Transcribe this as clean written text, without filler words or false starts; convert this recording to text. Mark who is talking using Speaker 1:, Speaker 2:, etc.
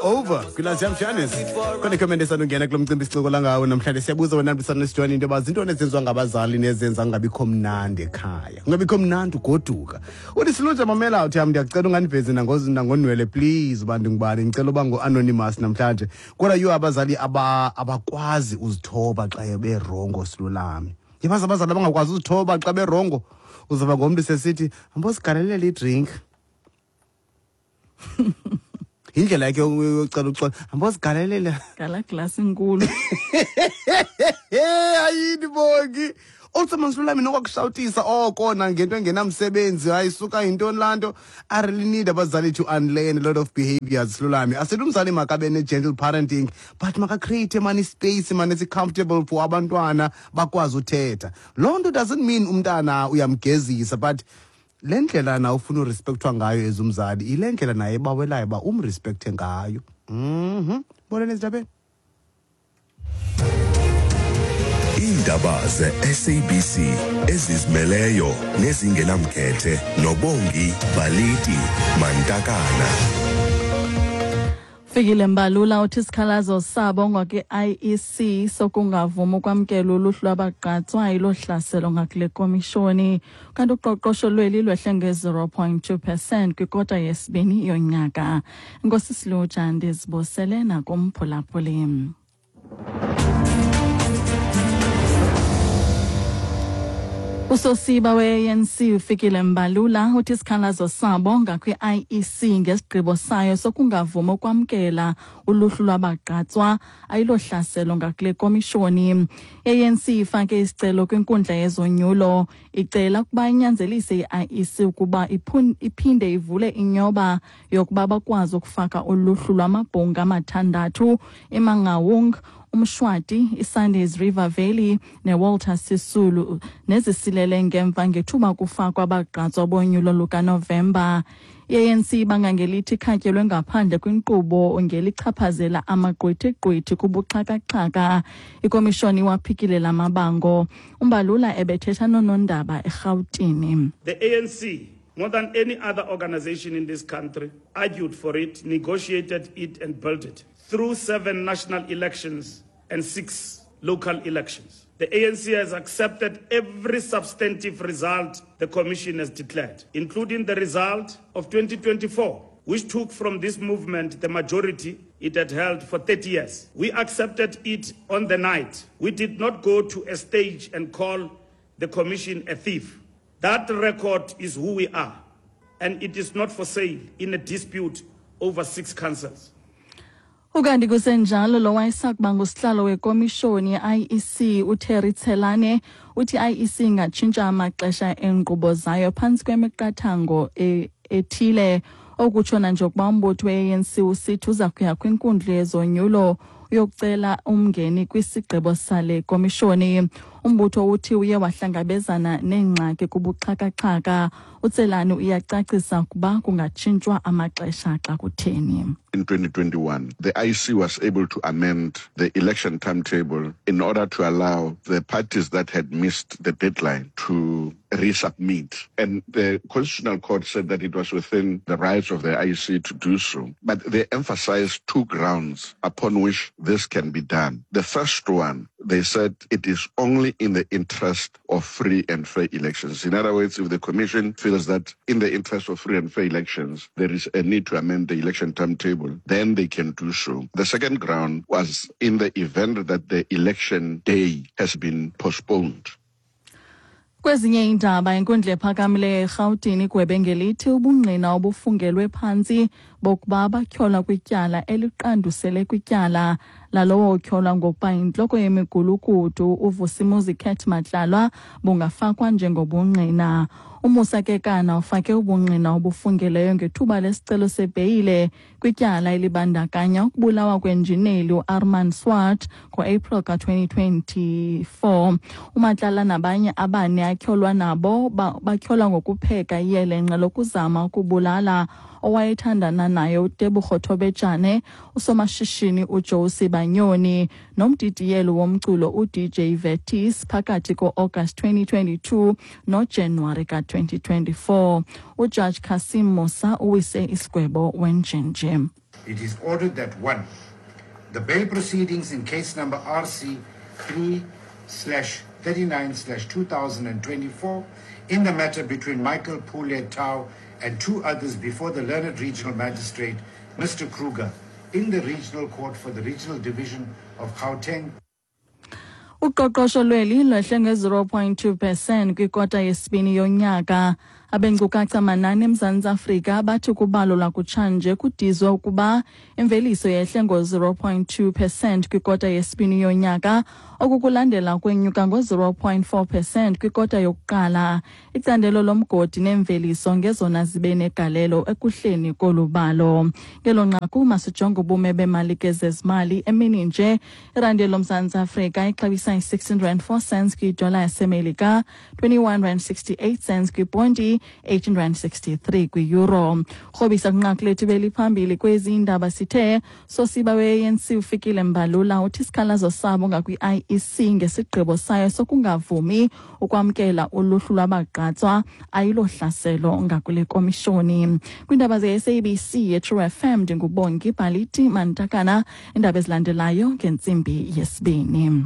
Speaker 1: Over kwilazi yamshanis khona ikhomenti esandungena kulo mcimbi sicokola ngawo namhlanje. Siyabuza wena bisana into yoba zintoni ezenziwa ngabazali nezenza kungabikho mnandi ekhaya, kungabikho mnandi ugoduka. Uthi silunje mamela, uthi yam ndiyacela ungandivezi nangonwele please uba ndingubani, ndicela uba ngu-anonymous namhlanje. Kodwa yho, abazali abakwazi uzithoba xa berongo. Silulami, yabazi abazali abangakwazi uzithoba xa berongo. Uzava ngomntu sesithi hambosigalelele idrink, yindlela yakhe yocela uxolo, hambozigalelela
Speaker 2: ngala glasi inkulu.
Speaker 1: Ayini bongi also mansilulami nokwakushawutisa oko nangento engenamsebenzi. Hayi suka, yintoni laa nto? I really need abazali to unlearn a lot of behaviors. Silulami, asithi umzali makabe ne-gentle parenting, but makacreate mani ispace mani esi-comfortable for abantwana bakwazi uthetha. Loo nto doesn't mean umntana uyamgezisa, but le ndlela na ufuna urespectwa ngayo as umzali, yile ndlela naye ebawelayo uba umrespekthe ngayo. Boleni ezindabeni.
Speaker 3: Iindaba ze-SABC ezizimeleyo nezingenamkhethe noBongi Baliti Mantakana.
Speaker 2: Fikile Mbalula uthi isikhalazo sabo ngakwi-IEC sokungavumi ukwamkela uluhlu lwabagqatswa ilohlaselo ngakule komishoni. Kanti uqoqosho lweli lwehle nge-0.2% kwikota yesibini yonyaka. Inkosi Siluja, ndizibosele nakumphulaphuli. Usosiba we-ANC uFikile Mbalula uthi isikhalazo sabo ngakwi-IEC ngesigqibo sayo sokungavumi ukwamkela uluhlu lwabagqatswa ayilohlaselo ngakule komishoni. I-ANC ifake isicelo kwinkundla yezonyulo icela ukuba inyanzelise i-IEC ukuba iphinde ivule inyoba yokuba bakwazi ukufaka uluhlu lwamabhunga amathandathu iMangaung, uMshwathi, iSundays River Valley neWalter Sisulu nezisilele ngemva ngethuba kufakwa abagqatswa bonyulo lukaNovemba. I-ANC ibanga ngelithi ikhatyelwe ngaphandle kwinkqubo ngelichaphazela amagqwithigqwithi kubuxhakaxhaka. Ikomishoni iwaphikile la mabango. UMbalula ebethetha noonondaba eRhawutini.
Speaker 4: The ANC, more than any other organization in this country, argued for it, negotiated it, and built it through 7 national elections and 6 local elections. The ANC has accepted every substantive result the Commission has declared, including the result of 2024, which took from this movement the majority it had held for 30 years. We accepted it on the night. We did not go to a stage and call the Commission a thief. That record is who we are, and it is not for sale in a dispute over 6 councils.
Speaker 2: Ukanti kusenjalo, lo wayesakuba ngusihlalo wekomishoni ye-IEC uTerry Tselane uthi i-IEC ingatshintsha amaxesha eenkqubo zayo phantsi kwemiqathango ethile. Okutsho njengokuba umbutho we-ANC usithi uza kuya kwinkundla yezonyulo uyokucela umngeni kwisigqibo sale komishoni. Umbutho uthi uye wahlangabezana neengxaki kubuxhakaxhaka. UTselane uyacacisa ukuba kungatshintshwa amaxesha xa kutheni.
Speaker 5: In 2021, the IEC was able to amend the election timetable in order to allow the parties that had missed the deadline to resubmit. And the Constitutional Court said that it was within the rights of the IEC to do so. But they emphasized 2 grounds upon which this can be done. The first one, they said it is only in the interest of free and fair elections. In other words, if the Commission feels that in the interest of free and fair elections, there is a need to amend the election timetable, then they can do so. The second ground was in the event that the election day has been postponed.
Speaker 2: Kwezinye iindaba, inkundla ephakamileyo eRhawutini igwebe ngelithi ubungqina obufungelwe phantsi bokuba batyholwa kwityala eliqandusele kwityala lalowo utyholwa ngokuba yintloko yemigulukudu uVusimuzi Cat Matlala bungafakwa njengobungqina. UMusa Kekana ufake ubungqina obufungeleyo ngethuba lesicelo sebheyile kwityala elibandakanya ukubulawa kwenjineli uArmand Swart ngo-April ka-2024. UMatlala nabanye abane atyholwa nabo batyholwa ngokupheka iyelenqe lokuzama ukubulala owayethandana naye uTebogo Thobejane, usomashishini uJoe Sibanyoni nomdidiyeli womculo uDJ Vetis phakathi ko-August 2022 noJanuwari ka-2024. UJudge Kasim Musa uwise isigwebo wenjenje.
Speaker 6: It is ordered that 1. The bail proceedings in case number RC 3/39/2024 in the matter between Michael Pule Tau and two others before the learned regional magistrate, Mr. Kruger, in the regional court for the regional division of Gauteng.
Speaker 2: Uqoqosho lweli lwehle nge-0.2 percent kwikota yesibini yonyaka. Abenkcukacha manani eMzantsi Afrika bathi kubalo lwakutshanje kudizwe ukuba imveliso yehle ngo-0.2 percent kwikota yesibini yonyaka, okukulandela kwenyuka ngo-0.4 percent kwikota yokuqala. Icandelo lomgodi nemveliso ngezona zibe negalelo ekuhleni kolu balo. Ngelo nqaku masijonge ubume bemali ke zezimali emini nje. Irandi loMzantsi Afrika ixabisa i-16 rand 4 cents kwidola yaseMelika, 21 rand 68 cents kwiponti, 18 rand 63 kwi-euro. Rhobisa kwinqaku lethu beliphambili kwezi indaba sithe sosiba we-ANC uFikile Mbalula uthi isikhalazo sabo ngakwi-IEC ngesigqibo sayo sokungavumi ukwamkela uluhlu lwabagqatswa ayilohlaselo ngakule komishoni. Kwiindaba ze-SABC yeTrue FM, ndinguBongi Baliti Mantakana. Iindaba ezilandelayo ngentsimbi yesibini.